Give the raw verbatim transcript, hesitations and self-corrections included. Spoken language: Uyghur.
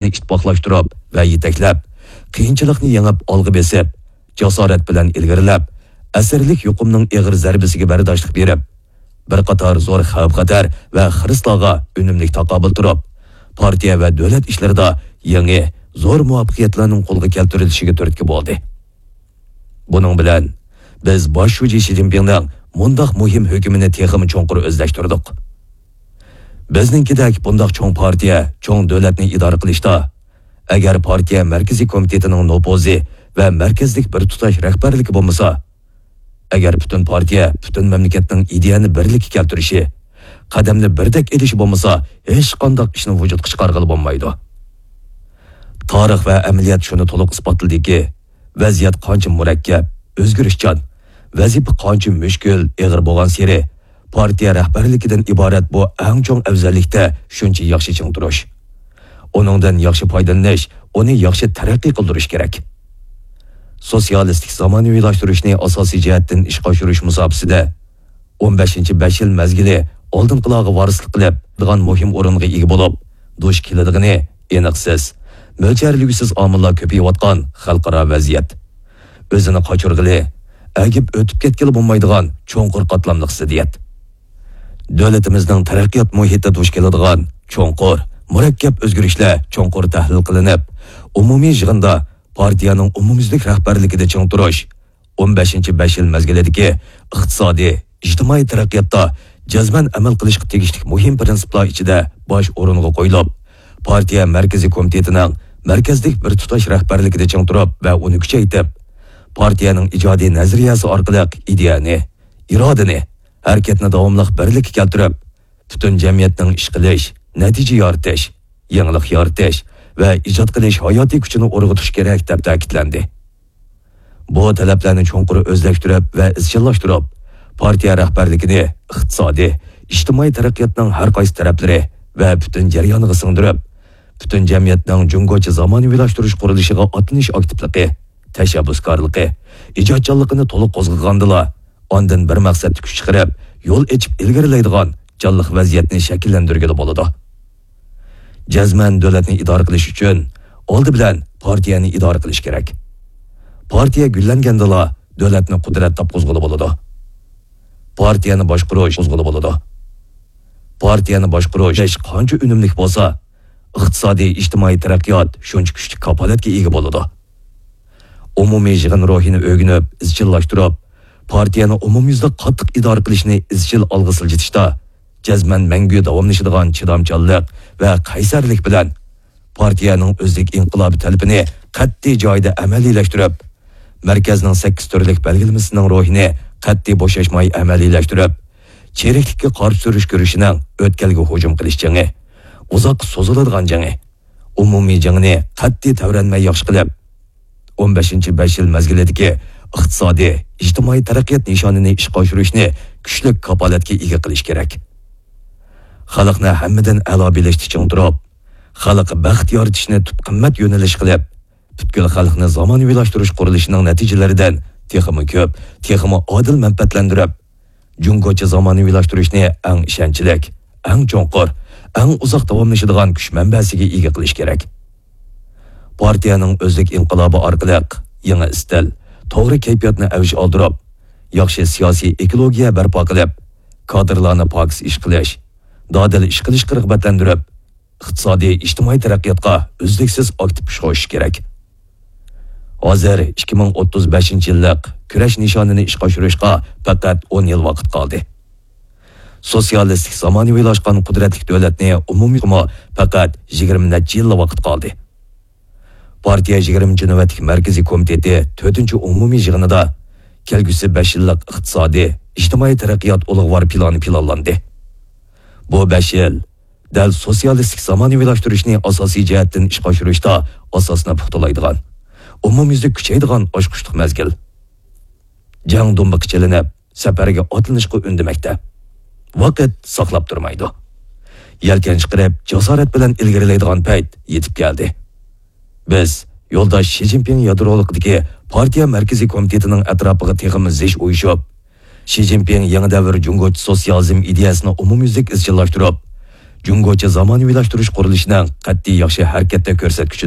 ئىتتىپاقلاشتۇرۇپ ۋە يېتەكلەپ، قىيىنچىلىقنى يېڭىپ ئالغا بېسىپ، جاسارەت بىلەن ئىلگىرىلەپ، ئەسىرلىك يۇقۇمنىڭ ئېغىر زەربىسىگە بەرداشلىق بېرىپ، بىر قاتار زور خەۋپ-خەتەر ۋە خىرىسلارغا ئۈنۈملۈك تاقابىل تۇرۇپ، پارتىيە ۋە دۆلەت ئىشلىرىدا يېڭى، زور مۇۋەپپەقىيەتلەرنىڭ قولغا كەلتۈرۈلۈشىگە تۈرتكە بولدى. بۇنىڭ بىلەن بىز باش شۇجى شى جىنپىڭنىڭ مۇنداق مۇھىم ھۆكمىنى تېخىمۇ چوڭقۇر ئۆزلەشتۈردۇق. بىزنىڭكىدەك بۇنداق چوڭ پارتىيە، چوڭ دۆلەتنى ئىدارە قىلىشتا، ئەگەر پارتىيە مەركىزىي كومىتېتىنىڭ نوپۇزى ۋە مەركەزلىك بىر تۇتاش رەھبەرلىكى بولمىسا، ئەگەر پۈتۈن پارتىيە، پۈتۈن مەملىكەتنىڭ ئىدىيەنى بىرلىككە كەلتۈرۈشى، قەدەمنى بىردەك ئېلىشى بولمىسا، ھېچقانداق ئىشنى ۋۇجۇدقا چىقارغىلى بولمايدۇ. تارىخ ۋە ئەمەلىيەت شۇنى تولۇق ئىسپاتلىدىكى، ۋەزىيەت قانچە مۇرەككەپ، ئۆزگىرىشچان، ۋەزىپە قانچە مۈشكۈل، ئېغىر بولغانسېرى، پارتىيە رەھبەرلىكىدىن ئىبارەت بۇ ئەڭ چوڭ ئەۋزەللىكتە شۇنچە ياخشى چىڭ تۇرۇش، ئۇنىڭدىن ياخشى پايدىلىنىش، ئۇنى ياخشى تەرەققىي قىلدۇرۇش كېرەك. سوتسىيالىستىك زامانىۋىلاشتۇرۇشنى ئاساسىي جەھەتتىن ئىشقا ئاشۇرۇش مۇساپىسىدە، ئون بەشىنچى بەش يىل مەزگىلى ئالدىنقىلارغا ۋارىسلىق قىلىپ، مۇھىم ئورۇنغا ئىگە بولۇپ، دۇچ كېلىدىغىنى ئېنىقسىز، مۆلچەرلىگۈسىز ئامىللار كۆپىيىۋاتقان خەلقئارا ۋەزىيەت. ئۆزىنى قاچۇرغىلى، ئەگىپ ئۆتۈپ كەتكىلى بولمايدىغان چوڭقۇر قاتلاملىق زىددىيەت. دۆلىتىمىزنىڭ تەرەققىيات مۇھىتىدا دۇچ كېلىدىغان چوڭقۇر، مۇرەككەپ ئۆزگىرىشلەر چوڭقۇر تەھلىل قىلىنىپ، ئومۇمىي يىغىندا پارتىيەنىڭ ئومۇميۈزلۈك رەھبەرلىكىدە چىڭ تۇرۇش، ئون بەشىنچى بەش يىل مەزگىلىدىكى ئىقتىسادىي، ئىجتىمائىي تەرەققىياتتا جەزمەن ئەمەل قىلىشقا تېگىشلىك مۇھىم پىرىنسىپلار ئىچىدە باش ئورۇنغا قويۇلۇپ، پارتىيە مەركىزىي كومىتېتىنىڭ مەركەزلىك بىر تۇتاش رەھبەرلىكىدە چىڭ تۇرۇپ ۋە ئۇنى كۈچەيتىپ، پارتىيەنىڭ ئىجادىي نەزەرىيەسى ئارقىلىق ئىدىيەنى، ئىرادىنى، ھەرىكەتنى داۋاملىق بىرلىككە كەلتۈرۈپ، پۈتۈن جەمئىيەتنىڭ ئىش قىلىش، نەتىجە يارىتىش، يېڭىلىق يارىتىش ۋە ئىجاد قىلىش ھاياتىي كۈچىنى ئۇرغۇتۇش كېرەك، دەپ تەكىتلەندى. بۇ تەلەپلەرنى چوڭقۇر ئۆزلەشتۈرۈپ ۋە ئىزچىللاشتۇرۇپ، پارتىيە رەھبەرلىكىنى ئىقتىسادىي، ئىجتىمائىي تەرەققىياتنىڭ ھەر قايسى تەرەپلىرى ۋە پۈتۈن جەريانىغا سىڭدۈرۈپ، پۈتۈن جەمئىيەتنىڭ جۇڭگوچە زامانىۋىلاشتۇرۇش قۇرۇلۇشىغا ئاتلىنىش ئاكتىپلىقى، تەشەببۇسكارلىقى، ئىجادچانلىقىنى تولۇق قوزغىغاندىلا، ئاندىن بىر مەقسەتتە كۈچ چىقىرىپ، يول ئېچىپ ئىلگىرىلەيدىغان جانلىق ۋەزىيەتنى شەكىللەندۈرگىلى بولىدۇ. جەزمەن دۆلەتنى ئىدارە قىلىش ئۈچۈن ئالدى بىلەن پارتىيەنى ئىدارە قىلىش كېرەك. پارتىيە گۈللەنگەندىلا دۆلەتنى قۇدرەت تاپقۇزغىلى بولىدۇ. پارتىيەنى باشقۇرۇش قوزغىلى بولىدۇ. پارتىيەنى باشقۇرۇش قانچە ئۈنۈملۈك بولسا، ئىقتىسادىي، ئىجتىمائىي تەرەققىيات شۇنچە كۈچلۈك كاپالەتكە ئىگە بولىدۇ. ئومۇمىي يىغىن روھىنى ئۆگىنىپ، ئىزچىللاشتۇرۇپ، پارتىيەنى ئومۇميۈزلۈك قاتتىق ئىدارە قىلىشنى ئىزچىل ئالغا سىلجىتىشتا، جەزمەن مەڭگۈ داۋاملىشىدىغان چىدامچانلىق ۋە قەيسەرلىك بىلەن پارتىيەنىڭ ئۆزلۈك ئىنقىلابى تەلىپىنى قەتئىي جايىدا ئەمەلىيلەشتۈرۈپ، مەركەزنىڭ سەككىز تۈرلۈك بەلگىلىمىسىنىڭ روھىنى قەتئىي بوشاشماي ئەمەلىيلەشتۈرۈپ، چىرىكلىككە قارشى تۇرۇش كۈرىشىنىڭ ئۆتكەلگە ھۇجۇم قىلىش جېڭى، ئۇزاققا سوزۇلىدىغان جېڭى، ئومۇمىي جېڭىنى قەتئىي تەۋرەنمەي ياخشى قىلىپ، ئون بەشىنچى بەش يىل مەزگىلىدىكى ئىقتىسادىي، ئىجتىمائىي تەرەققىيات نىشانىنى ئىشقا ئاشۇرۇشنى كۈچلۈك كاپالەتكە ئىگە قىلىش كېرەك. خەلقنى ھەممىدىن ئەلا بىلىشتە چىڭ تۇرۇپ، خەلققە بەخت يارىتىشنى تۈپ قىممەت يۆنىلىش قىلىپ، پۈتكۈل خەلقنى زامانىۋىلاشتۇرۇش قۇرۇلۇشىنىڭ نەتىجىلىرىدىن تېخىمۇ كۆپ، تېخىمۇ ئادىل مەنپەئەتلەندۈرۈپ، جۇڭگوچە زامانىۋىلاشتۇرۇشنى ئەڭ ئىشەنچلىك، ئەڭ چوڭقۇر، ئەڭ ئۇزاق داۋاملىشىدىغان كۈچ مەنبەسىگە ئىگە قىلىش كېرەك. پارتىيەنىڭ ئۆزلۈك ئىنقىلابى ئارقىلىق يېڭى ئىستىل، توغرا كەيپىياتنى ئەۋج ئالدۇرۇپ، ياخشى سىياسىي ئېكولوگىيە بەرپا قىلىپ، كادىرلارنى پاكىز ئىش قىلىش، دادىل ئىش قىلىشقا رىغبەتلەندۈرۈپ، ئىقتىسادىي، ئىجتىمائىي تەرەققىياتقا ئۈزلۈكسىز ئاكتىپ كۈچ قوشۇش كېرەك. ھازىر ئىككى مىڭ ئوتتۇز بەشىنچى يىللىق كۈرەش نىشانىنى ئىشقا ئاشۇرۇشقا پەقەت ئون يىل ۋاقىت قالدى. سوتسىيالىستىك زامانىۋىلاشقان قۇدرەتلىك دۆلەتنى ئومۇميۈزلۈكمۇ پەقەت يىگىرمە نەچچە يىللا ۋاقىت قالدى. پارتىيە يىگىرمىنچى نۆۋەتلىك مەركىزىي كومىتېتى تۆتىنچى ئومۇمىي يىغىنىدا كەلگۈسى بەش يىللىق ئىقتىسادىي، ئىجتىمائىي تەرەققىيات ئۇلۇغۋار پىلانى پىلانلاندى. بۇ بەش يىل دەل سوتسىيالىستىك زامانىۋىلاشتۇرۇشنى ئاساسىي جەھەتتىن ئىشقا ئاشۇرۇشتا ئاساسنى پۇختىلايدىغان، ئومۇميۈزلۈك كۈچەيدىغان ئاچقۇچلۇق مەزگىل. جەڭ دۇمبىقى چېلىنىپ، سەپەرگە ئاتلىنىشقا ئۈندىمەكتە. ۋاقىت ساقلاپ تۇرمايدۇ. يەلكەن چىقىرىپ، جاسارەت بىلەن ئىلگىرىلەيدىغان پەيت يېتىپ كەلدى. بىز يولداش شى جىنپىڭ يادرولۇقىدىكى پارتىيە مەركىزىي كومىتېتىنىڭ ئەتراپىغا تېخىمۇ زىچ ئۇيۇشۇپ، شى جىنپىڭ يېڭى دەۋر جۇڭگوچە سوتسىيالىزم ئىدىيەسىنى ئومۇميۈزلۈك ئىزچىللاشتۇرۇپ، جۇڭگوچە زامانىۋىلاشتۇرۇش قۇرۇلۇشىنىڭ قەتئىي ياخشى ھەرىكەتتە كۆرسەتكۈچى